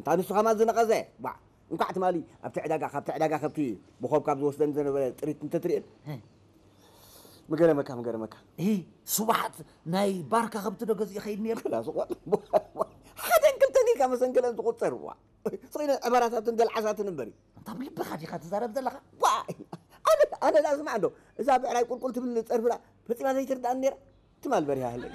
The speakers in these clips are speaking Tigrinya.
እታ ንሱ ከማን ዝነቐዘ፣ ባዕ፣ እንኳዕ ትማሊ ኣብቲ ዕዳጋ፣ ካብቲ ዕዳጋ ከብቲ ብኾብ ካብ ዝወስደኒ ዝነበረ ጥሪት እንተትርእየን። እ። ምገረመካ፣ ምገረመካ። እ፣ ስብሓት ናይ ባርካ ከብቲ ዶ ገዚኡ ኸይድ ነይሩ? ክላ ስቆጥ። ሓደን ክልተን ኢልካ መሰንክለን ትቑጸር፣ ዋ። ስኺነ ዕበራታትን ገልዓሳትን እምበሪ። እንታብ ልብኻ ዲኻ ትዛረብ ዘለኻ? ዋ፣ ኣነ፣ ኣነ ዳ ስማዕ እንዶ፣ እዛ ብዕራይ ቁልቁል ትብል ጸርፍላ ፈጺማ ዘይትርዳእኒ ነይራ። ትማል በሪሃ ሃለይ።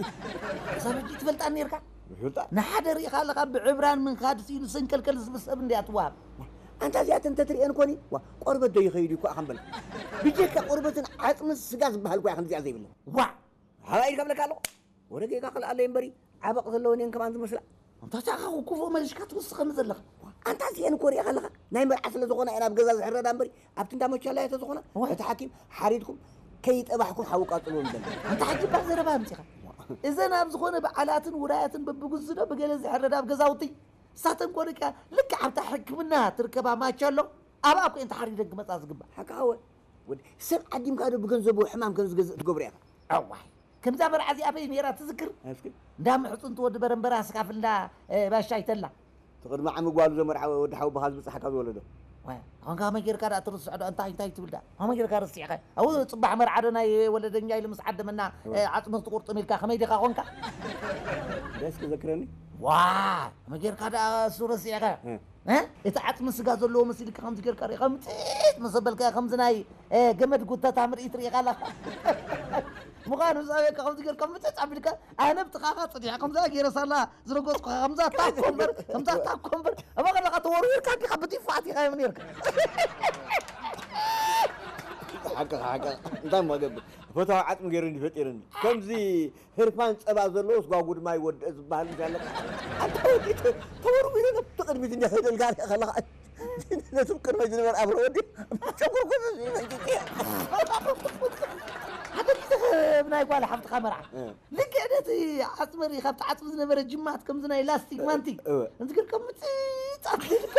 እዛ በጂ ትፈልጣ ነርካ? ይፈልጣ። ንሓደ ርኢኻ ኣለኻ ብዕብራን ምንካድ ስኢኑ ሰንከልከል ዝብል ሰብ እንድያ ትወሃብ። ኣንታ እዚኣተን እንተትርእየን ኮኒ፣ ዋ፣ ቆርበት ዶ ይኸይድ እዩ እኮ ኣኸምበል። ብጀካ ቆርበትን ዓጽምን ስጋ ዝበሃል እኮ እያ ከምዚኣ ዘይብለን። ዋ! ሃባ ኢልካ ብለካ ኣለኹ። ወረ ጌጋ ክልኣለይ እምበሪ፣ ዓበቕ ዘለወን እየን ከማን ዝመስላ። ኣንታ ቻኻ ክፉእ መሊሽካ ትውስኸኒ ዘለኻ። ኣንታ እዚአን እኮ ሪእኻ ኣለኻ። ናይ መርዓ ስለ ዝኾና እየን ኣብ ገዛ ዝሕረዳ እምበሪ፣ ኣብቲ እንዳ ሞቻላ እየ ተዝኾና። ዋይ። እቲ ሓኪም ሓሪድኩም ከይጠባሕኩም ሓዊ ቃጽልዎ ንበል። ኣንታ ሓኪም ባህ ዘረባ ኣምጺኻ። እዘን ኣብ ዝኾነ በዓላትን ውራያትን በብግዝዶ ብገለ ዝሕረዳ ኣብ ገዛውቲ። እሳተን ኮ ደቂ ልክዕ ኣብታ ሕክምና ትርከባ ማቻሎ ኣብኣ እኮ እየን ተሓሪደን ክመጻ ዝግባእ። ሓቅኻ ወ-፣ ወዲ ሰብ ዓዲምካ ዶ ብገንዘቡ ሕማም ከም ዝገዝእ ትገብሮ ኢኻ? ኣዋይ። ከምዛ መርዓ እዚኣ በይ ነይራ ትዝክር? እስኪ። እንዳ ምሕጹንቲ ወዲ በረምበራ ስካፍላ፣ እ፣ ባሻይ ተላ። እቲ ቅድሚ ዓሚ ጓሉ ዘመርዓ ወዲ ሓወቦኻ ዝበጽሓካ ዝወለዶ። ዋይ፣ ኣሁን ከመይ ጌርካ ደኣ ትርስዖ ዶ? እንታይ፣ እንታይ ትብል ደኣ? ከመይ ጌርካ ረሲዕኻ? ኣብኡ ጽባሕ መርዓ ዶ ናይ ወለደኛ ኢሉ ምስ ዓደመና፣ እወ። እ፣ ዓጽሚ ክትቁርጥም ኢልካ ከመይ ዲኻ ኾንካ? ደስ ክዘክረኒ? ዋ፣ ከመይ ጌርካ ደኣ እሱ ረሲዕኻ? እ። እ? እቲ ዓጽሚ ስጋ ዘለዎ መሲልካ ከምዚ ጌርካ ርኢኻ ምጽጥ ምስ ኣበልካዮ ከምዚ ናይ፣ እ፣ ገመድ ጉተታ ምርኢት ርኢኻ ኣለኻ። ምዃኑ ምስ ኣበልካ ከምዚ ጌርካ ምጽጥ ኣቢልካ ኣነ ብጥቓኻ ጽኒሐ ከምዛ ገይረ ሳላ ዝረገጽኩኻ ከምዛ ታኮ እምበር፣ ከምዛ ታኮ እምበር፣ እሞ ከለኻ ተወርዊርካ እንዲኻ ብቲፋ ኣቲኻዮም ኔርካ። ሓቅኻ፣ ሓቅኻ። እንታይ እሞ ገብር? ፈታዊ ዓጽሚ ገይሩ እንዲ ፈጢሩኒ። ከምዚ ህርፋን ጸባ ዘለዎ ስጓጉድ ማይ ወድአ ዝበሃል ምስ ኣለካ። ኣንታ ወዲ ተ-፣ ተወርዊሩ ነቲ ቅድሚት እንዲ ኸይደልካ ሪኣ ከለኻ። ነቲ ቅድመይ ዝነበረ ኣብሮ ወዲ ጨጉርኩ መንጭጭ። ሓደ ግዜ ብናይ ጓል ሓፍትኻ መርዓ። እ። ልክዕ ነቲ ዓጽሚ ርኢኻ፣ ኣብቲ ዓጽሚ ዝነበረ ጅማት ከምዚ ናይ ላስቲክ ማንቲክ። እወ። እዚ ግን ከም ምጽጻት ኢልካ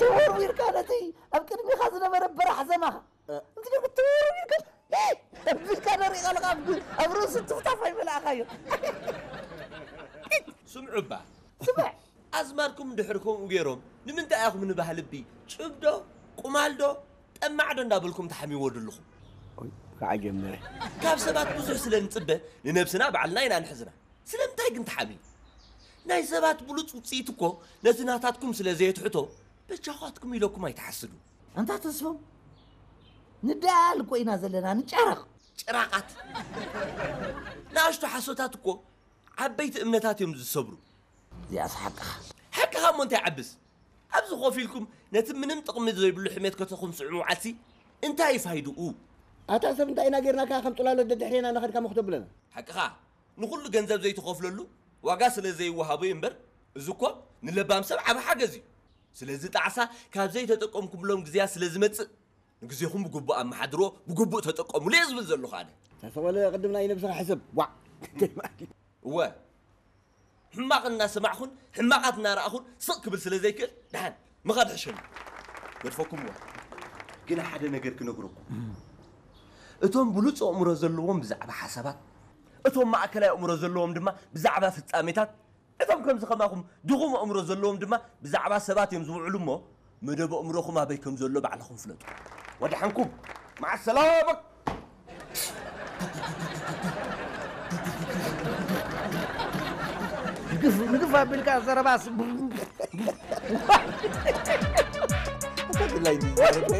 ተወርዊርካ ነቲ ኣብ ቅድሚኻ ዝነበረ በራሕ ዘማኻ። እ። እዚ ግን ተወርዊርካ፣ እ! ተብልካ ንሪኢ ኣለኻ፣ ኣብ፣ ኣብ ርእሱ ትፍታፍ ኣይመልኣኻዮ። ስምዑ እባ። ስምዕ። ኣዝማድኩም እንድሕር ከምኡ ገይሮም፣ ንምንታይ ኢኹም ንባህሊ እቢ ጭብዶ፣ ቁማልዶ፣ ጠማዕዶ እንዳበልኩም ተሓሚዎ ዘለኹም? ኦይ፣ ከዓ ጀመረ። ካብ ሰባት ብዙሕ ስለ ንጽበ፣ ንነብስና ባዕልና ኢና ንሕዝና። ስለምንታይ ግን ተሓምዩ? ናይ ሰባት ብሉጽ ውጽኢት እኮ ነቲ ናታትኩም ስለ ዘየትሕቶ፣ በጃኻትኩም ኢለኩም ኣይትሓስዱ። ኣንታ ተስፎም፣ ንደኣል እኮ ኢና ዘለና፣ ንጨረቕ። ጭራቓት። ንኣሽቱ ሓሶታት እኮ ዓበይቲ እምነታት እዮም ዝሰብሩ። እዚኣስ ሓቅኻ። ሓቅኻ እሞ እንታይ ዓብስ? ኣብዚ ኮፍ ኢልኩም ነቲ ምንም ጥቕሚ ዘይብሉ ሕሜት ከተኹምስዑ ምውዓልሲ እንታይ እዩ ፋይድኡ? ኣታ ሰብ እንታይ ኢና ጌርናካ ከም ጽላሎት ደድሕሬና እናኸድካ ሞኽ ተብለና? ሓቅኻ። ንኹሉ ገንዘብ ዘይትኸፍለሉ ዋጋ ስለ ዘይወሃቦ እዩ እምበር፣ እዚ እኮ ንለባም ሰብ ዓቢ ሓገዝ እዩ። ስለዚ ጣዕሳ ካብ ዘይተጠቀምኩምሎም ግዜያት ስለ ዝመጽእ፣ ንግዜኹም ብግቡእ ኣመሓድሮ፣ ብግቡእ ተጠቀሙሉ እየ ዝብል ዘለኹ ኣነ። ተሰወለ ቅድም ናይ ነብስኻ ሕሰብ። ዋዕ። እወ። ሕማቕ እናሰማዕኹን ሕማቓት እናረኣኹን ስቕ ክብል ስለ ዘይክእል፣ ደሓን ምኻድ ሕሸኒ። ገድፈኩምዎ። ግን ሓደ ነገር ክነግረኩም። እቶም ብሉጽ ኣእምሮ ዘለዎም ብዛዕባ ሓሳባት፣ እቶም ማእከላይ ኣእምሮ ዘለዎም ድማ ብዛዕባ ፍጻሜታት፣ እቶም ከምዚ ከማኹም ድኹም ኣእምሮ ዘለዎም ድማ ብዛዕባ ሰባት እዮም ዝውዕሉ እሞ፣ መደብ ኣእምሮኹም ኣበይ ከም ዘሎ ባዕልኹም ፍለጡ። ወደሓንኩም። መዓ ሰላማ። ንግፍ፣ ንግፍ ኣቢልካ ዘረባስ። እንታይ ድላይ እንዲ ዘረባ?